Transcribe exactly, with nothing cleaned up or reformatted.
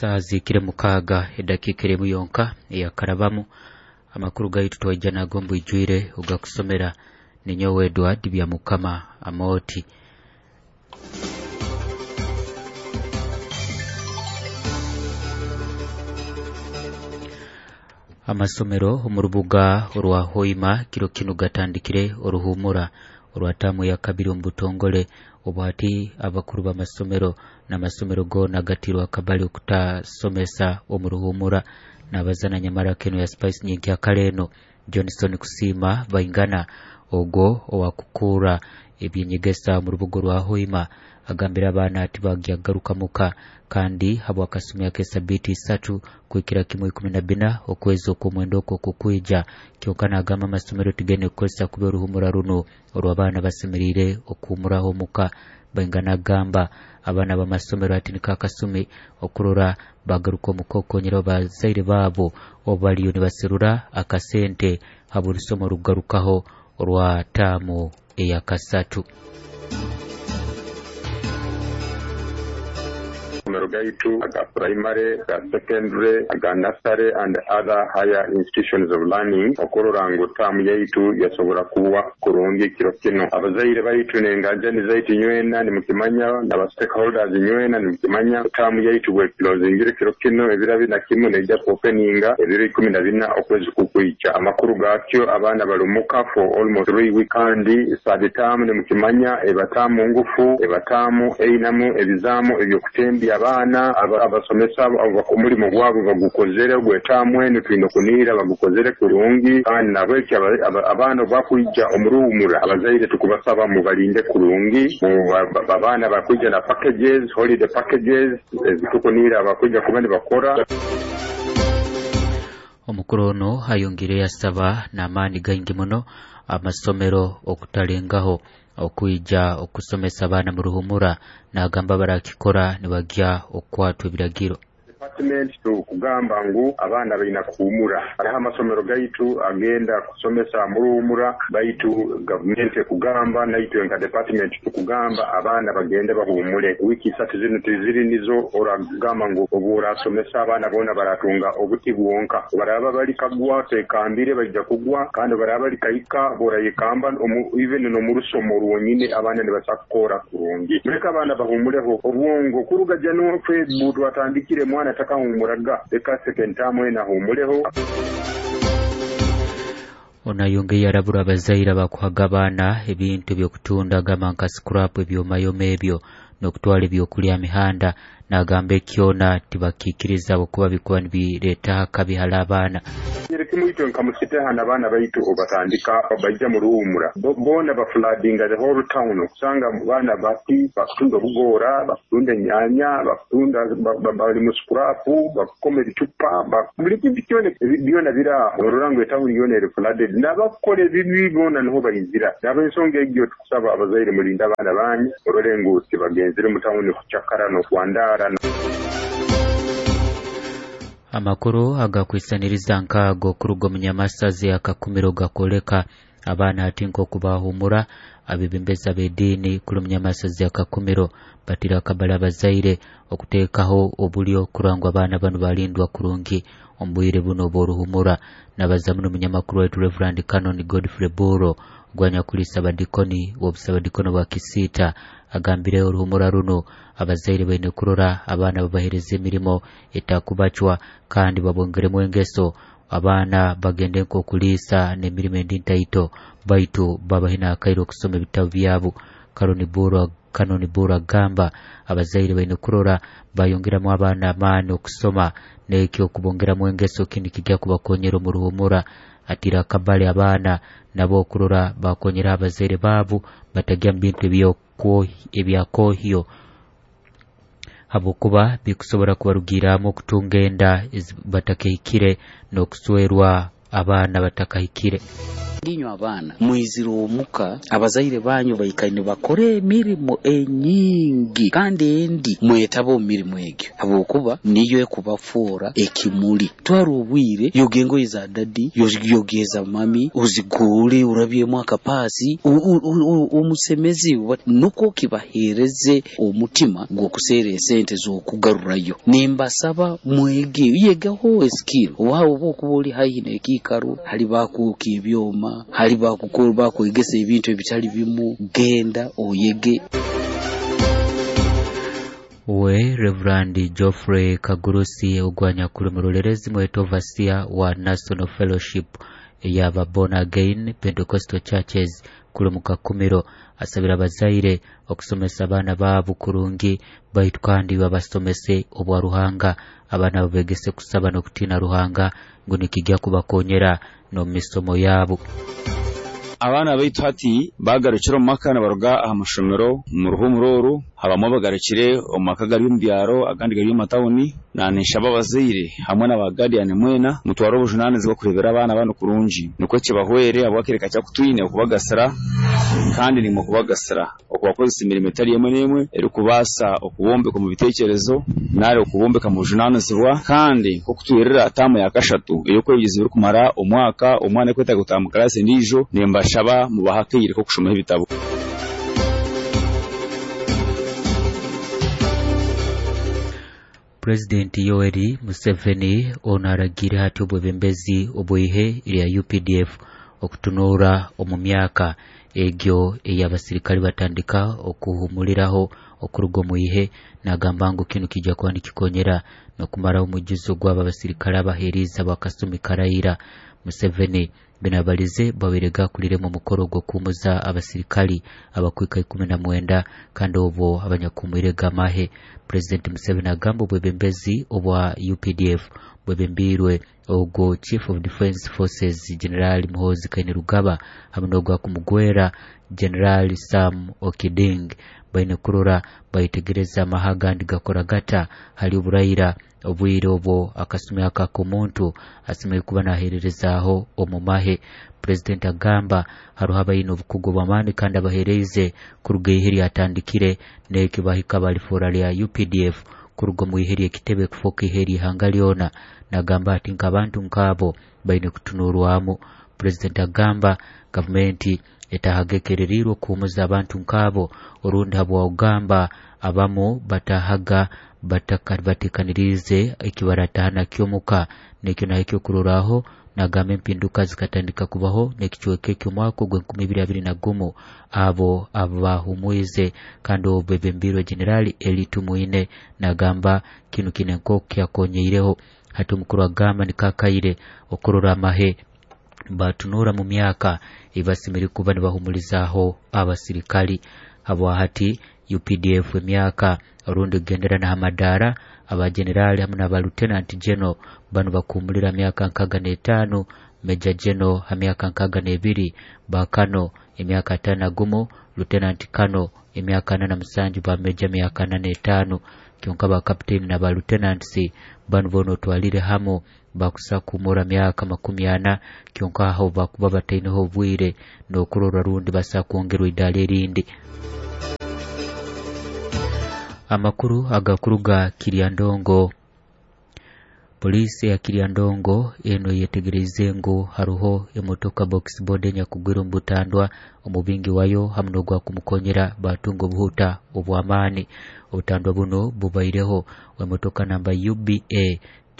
Saaha zihikire mukaaga edakiika emu yonka eyakarabamu. Amakuru gaitu twaija nago mbwijwire ogakusomera ninyowe Edward Byamukama Amoti. Amasomero omu rubuga orwa Hoima kiro kinu gatandikire oruhumura orwa taamu ya kabiri omu butongole. Obwati abakuru b'amasomero n'amasomero goona gatirwe akabali okutasomesa omu ruhumura. Nabazana nyamara keno ya Spice nyenkyakara eno Johnson Kusiima Baingana ogwo owakukura ebyenyegesa omu rubuga rwa Hoima agambira abaana ati bagyagaruka muka kandi habwakasumi ak'esabiiti isatu kuhikira kimu ikumi na bina okwezi okw'omwenda okwo kukwija. Kyonka nagamba amasomero tigene kukozesa kuba oruhumura runo orw'abaana basemeriire okuhumuraho omuka. Baingana agamba abaana b'amasomero ati niko akasumi okurora bagaruka omuka okukonyera bazaire baabo obu baliyo nibaserura akasente habw'orusomo orukugarukaho orwa taamu eyakasatu. Amasomero gaitu aga primary, aga secondary, aga nursery and other higher institutions of learning okurora ngu taamu yaitu yasobora kuba kurungi kiro kino. Abazaire baitu n'enganjani zaitu nywena nimukimanya, n'aba stakeholders nywena nimukimanya, taamu yaitu bwekilozingire kiro kino ebiro abiri na kimu neija kuopeninga ebiro ikumi na bina okwezi kukwija. Amakuru gakyo abaana bali muka for almost three weeks kandi third term nimukimanya eba taamu ngufu, eba taamu einamu ebizaamu eby'okutembya abaana. Abasomesa omulimu gwabo bagukozere gwetaamu enu twine kunihira bagukozere kurungi, kandi nabwekyo abaana obakwija omuruhumura abazaire tukubasaba mubalinde kurungi. Abaana bakwija na packages, holiday packages ezitukunihira abakwija kuba nibakora. Omukuru ono ayongire yasaba n'amaani gaingi muno amasomero okutalengaho okwija okusomesa abaana mu ruhumura, n'agamba barakikora nibagya okukwatwa ebiragiro. Department tukugamba ngu abaana baina kuhumura. Hariho amasomero gaitu agenda kusomesa muruhumura, baitu gavumenti ekugamba naitwe nka department tukugamba abaana bagende bahumule. Wiki isatu zinu tiziri nizo oragamba ngu obu orasomesa abaana boona baratunga obuti bwonka. Baraba bali kagwa tekambire baija kugwa, kandi baraba bali kahika borayekamba even n'omurusomo rwonyine abaana nibasa kukora kurungi. Muleke abaana bahumuleho obwongo kuruga January February twatandikire mwana takahumuraga leka second term ena humuleho. Onayongeye arabura abazaire abakuhaga abaana ebintu ebyokutunda gamba nka scrap ebyomayoma ebyo n'okutwara ebyokulya mihanda, nagamba ekyona tibakikiriza okuba bikuba nibireeta akabi hali abaana. Kimu itwe nka musiteha n'abaana baitu obatandika baija mu ruhumura boona bafladinga the whole town, okusanga baana bati bakutunda obugora, bakutunda enyanya, bakutunda bali mu scrap, bakukoma ebicupa, buli kintu kyona byona biri aho. Orora ngu etawuni yoona eri flooded n'abakukora ebibi boona niho baizira. N'ab'ensonga egyo tukusaba abazaire mulinde abaana banyu orore ngu tibagenzire mu tawuni kucakara n'okwandara. Amakuru agakwisaniriza nkaago kuruga omunyamasazi akakumiro gakoleka abaana ati nk'okubahumura. Abebembezi ab'ediini kuli omunyamasazi akakumiro batira akabali abazaire okuteekaho obulyo kurora ngu abaana banu balindwa kurungi omu bwire buno obw'oruhumura. Nabaza muno omunyamakuru waitu Reverend Canon Godfrey Buro ogwanyakulisa abadikoni w'obusabadikono bwa Kisiita agambire oruhumura runo abazaire baine kurora abaana babahereza emirimo etakubacwa kandi babongeremu engeso abaana bagende nk'okuliisa n'emirimo endi ntaito baitu babahe n'akaire okusoma ebitabu byabo. Kanoni Buro Kanoni Buro agamba abazaire baine kurora bayongeramu abaana amaani okusoma n'ekyo okubongeramu engeso kindi kijja kubakonyera omu ruhumura. Atira akabali abaana nabo okurora bakonyera abazaire baabo batagya mu bintu ebyakohyo habwokuba bikusobora kubarugiramu okutunga enda batakahikire n'okuswerwa abaana batakahikire. Inywe abaana mwizire omuka, abazaire banyu baikaire nibakora emirimo enyingi kandi endi mwetaba omu mirimo egyo habwokuba niyo ekubafoora ekimuli. Twara obwire, yoga engoye za dadi, yoga eza mami, oziguule orabyemu akapaasi, omusemezi nukwo kibaheereze omutima gw'okuseera esente z'okugarurayo. Nimbasaba mwege, yegaho skill, oba okuba oli haihi n'ekiikaro hali bakwokya ebyoma, hali bakukora bakwegesa ebintu ebitali bimu, genda oyege. We Reverend Geoffrey Kagurusi ogwanyakuli murolerezi mweto overseer wa National Fellowship eyaba Born Again Pentecostal Churches kuli mukakumiro asabira abazaire okusomesa abaana baabo kurungi baitu kandi babasomese obwa Ruhanga, abaana babegese kusaba n'okutiina Ruhanga ngu nikijja kubakonyera n'omu misomo yaabo. Abaana baitu hati bagarukire omu maka nibaruga aha mashomero mu ruhumuro oru, habamwe bagarukire omu maka gari omu byaro, agandi gari omu matawuni. Nanishaba abazaire hamwe n'aba guardian mwena mutware obujunanizibwa kurebera abaana banu kurungi nikwo kibahwere habwakireka kyakutwine okubagasira kandi nimwe okubagasira okubakozesa emirimo etari emwe n'emwe erikubaasa okubombeka omu bitekerezo nari okubombeka mu bujunanizibwa. Kandi nk'okutwirira taamu ya kashatu ey'okwebyiza birikumara omwaka, omwana ekwetaaga kutaaha mu kalaasi endiijo, nimbashaba mubahe akaire k'okushomaho ebitabo. Pulezidenti Yoweri Museveni ono aragiire hati obwebembezi obw'ihe erya U P D F okutunuura omu myaka egyo ey'abasirikale batandika okuhumuliraho okuruga omu ihe. Nagamba ngu kinu kijja kuba nikikonyera n'okumaraho omwijuzo gwabo abasirikale abaheerize abakasumi karaira. Museveni bino abalize babaire gakuliremu omukoro gw'okuhumuza abasirikali abakwika ikumi na mwenda kandi obwo abanyakuhumwirege amahe. Pulezidenti Museveni agamba obwebembezi obwa U P D F bwebembiirwe ogwo Chief of Defence Forces General Muhoozi Kainerugaba hamwe n'ogwa kumugwera General Sam Okiding baine kurora bayetegereza amahe agandi gakora gata hali oburaira obwire obwo akasumi aka ak'omuntu asemeriire kuba naheererezaaho omu mahe. Pulezidenti agamba haroho abaine obukugu bw'amaani kandi abaheereize kuruga ihe lyatandikire n'ekyo bahika balifoora lya U P D F kuruga omu ihe ly'ekitebe kufooka ihe ly'ihanga lyona. Nagamba ati nk'abantu nk'abo baine kutunurwamu. Pulezidenti agamba gavumenti etahaga ekereriirwe okuhumuza abantu nk'abo orundi habwogamba abamu batahaga batekaniriize ekibarataha nakyo omuka nekyo naho ekyokurorraho. Nagamba empinduka zikatandika kubaho n'ekicweka eky'omwaka ogw'enkumi ibiri abiri na gumu abo abahumwize kandi obu bebembiirwe Generali Elly Tumwine. Nagamba kinu kine nk'oku kyakonyeireho. Hati omukuru agamba nikakaire okurora amahe batunura mu myaka eibasemeriire kuba nibahumulizaaho abasirikali habwa hati U P D F emyaka orundi kugendera n'ahamadaara abagenerali hamwe n'aba lieutenant general banu bakuhumulira myaka nkaaga n'etaano, major general ha myaka nkaaga n'ebiri, bakano emyaka ataano na gumu, lieutenant kano emyaka ana na musanju, ba major myaka ana n'etaano. Kyonka ba captain na ba lieutenants banu boona otwalire hamu bakusa kuhumura myaka makumi ana, kyonka aho bakuba bataineho obwire n'okurora rundi basa kwongerwa idaara erindi. Amakuru agakuruga Kiryandongo. Poliisi ya Kiryandongo eno yetegereize ngu haruho emotoka box boda enyakugwire omu butandwa, omubingi wayo hamwe n'ogwa kumukonyera batunga obuhuta obw'amaani. Obutandwa buno bubaireho emotoka namba U B A